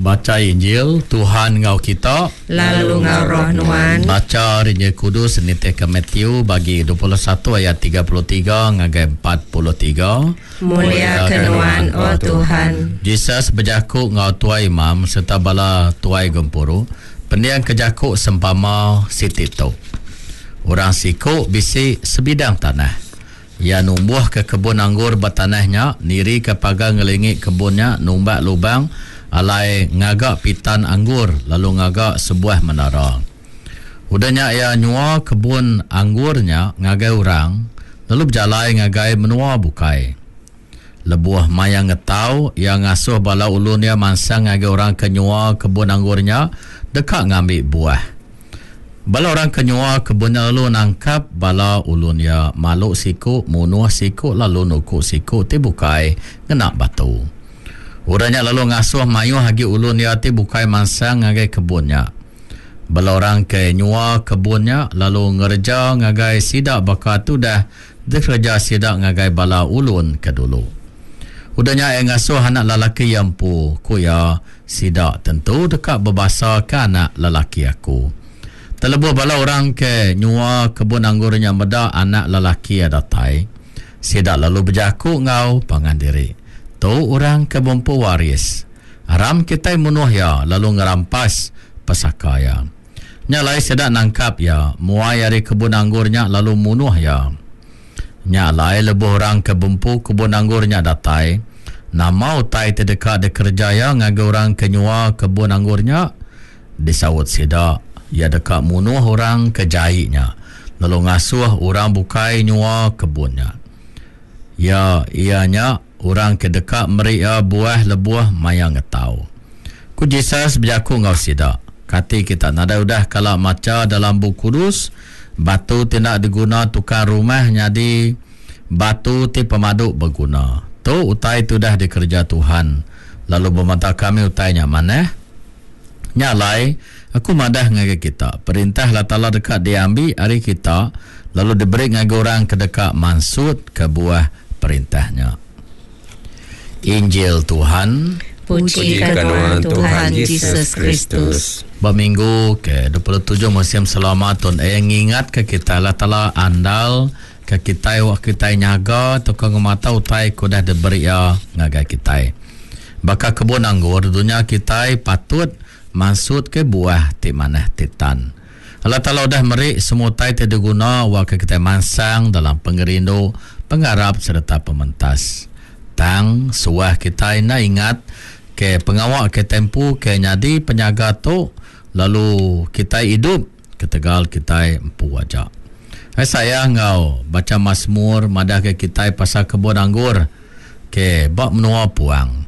Bacha Injil, Tuhan enggau kita. Lalu enggau roh nuan. Bacha ari Injil Kudus nitihka Matthew bagi 21 ayat 33 ngagai 43. Muliaka Nuan, O Tuhan. Jesus bejaku enggau tuai imam sereta bala tuai gempuru pendingka jaku sempama siti tu. Orang siku bisi sebidang tanah. Iya numbuhka kebun anggur ba tanah nya, nirika pagar ngelingi kebun nya, numbak lubang alai ngaga pitan anggur lalu ngaga sebuah menara. Udah nya iya nyua kebun anggur nya ngagai orang lalu bejalai ngagai menua bukai. Lebuh maya ngetau, iya ngasuh bala ulun iya mansang ngagai orang ke nyua kebun anggur nya deka ngambi buah. Bala orang ke nyua kebun nya lalu nangkap bala ulun iya, malu siku, munuh siku lalu nuku siku ti bukai ngena batu. Orang nya lalu ngasuh mayuh agi ulun iya ti bukai mansang ngagai kebun nya. Bala orang ke nyua kebun nya lalu ngereja ngagai sida baka ti udah dikereja sida ngagai bala ulun ke dulu. Udah nya iya ngasuh anak lelaki iya empu, ku iya, Sida tentu deka bebasaka anak lelaki aku. Tang lebuh bala orang ke nyua kebun anggur nya meda anak lelaki iya datai, sida lalu bejaku enggau pangan diri, Tu orang ke bempu waris. Aram kitai munuh iya lalu ngerampas pesaka iya. Nya alai sida nangkap iya, muai ari kebun anggur nya lalu munuh iya. Nya alai lebuh orang ke bempu kebun anggur nya datai, nama utai ti deka dikereja iya ngagai orang ke nyua kebun anggur nya? Disaut sida, Iya deka munuh orang ke jai nya, lalu ngasuh orang bukai nyua kebun nya. Iya, iya nya orang ke deka meri iya buah lebuh maya ngetau. Ku Jesus bejaku enggau sida, Kati kita nadai udah kala macha dalam Bup Kudus, Batu ti enda diguna tukang rumah nyadi batu ti pemadu beguna. Tu utai ti udah dikereja Tuhan, lalu ba mata kami utai nya manah. Nya alai, aku madah ngagai kita, Perintah Allah Taala deka diambi ari kita lalu diberi ngagai orang ke deka mansutka buah Perintah nya. Injil Tuhan. Puji ka nuan Tuhan Jesus Kristus. Ba minggu ke 27 musim selama tun e ngingatka kitai Allah Taala andal ke kitai wak kitai nyaga tauka ngemata utai ke udah diberi iya ngagai kitai. Baka kebun anggur dunya kitai patut mansutka buah ti manah ti tan. Allah Taala udah meri semua utai ti diguna awakka kitai mansang dalam pengerindu, pengarap sereta pementas. Tang, suah kitai enda ingat ke pengawa kitai empu ke nyadi penyaga tu lalu kitai idup ketegal kitai empu aja. Isaiah enggau bacha Masmur madahka kitai pasal kebun anggur ke ba menua puang.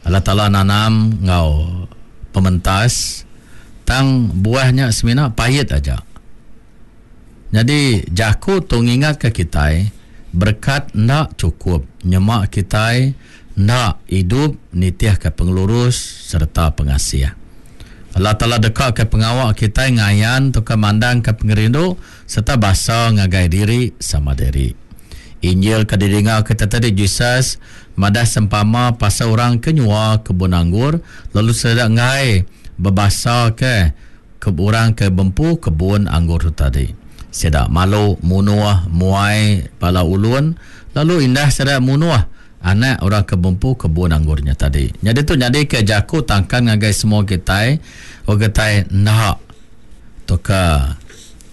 Allah Taala nanam enggau pementas, tang buah nya semina pait aja. Nyadi, jaku tu ngingatka kitai, berekat enda chukup nyema kitai enda idup nitihka pengelurus sereta pengasih. Allah Taala dekaka pengawa kitai ngayan tauka mandangka pengerindu sereta basa ngagai diri sama diri. Injil ke didinga kita tadi Jesus madah sempama pasal orang ke nyua kebun anggur lalu sida enggai bebasa ke ke orang ke bempu kebun anggur tu tadi. Sida malu munuh muai bala ulun lalu indah sida munuh anak orang ke bempu kebun anggur nya tadi. Nyadi tu nyadika jaku tangkan ngagai semua kitai, orang kitai enda tauka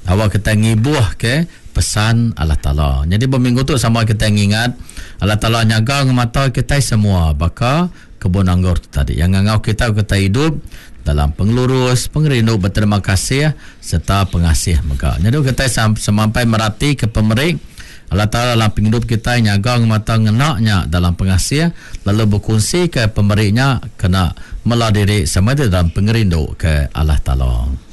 Awak kitai ngibuh ke pesan Allah Taala. Nyadi ba minggu tu sama kitai ngingat Allah Taala nyaga ngemata kitai semua baka kebun anggur tu tadi. Iya ngangau kitai kitai idup dalam pengelurus, pengerindu, beterima kasih sereta pengasih mega. Nyadi kitai semampai meratika pemeri Allah Taala dalam pengidup kitai nyaga ngemata ngena nya dalam pengasih lalu bekunsika pemeri nya kena mela diri sama dalam pengerindu ke Allah Taala.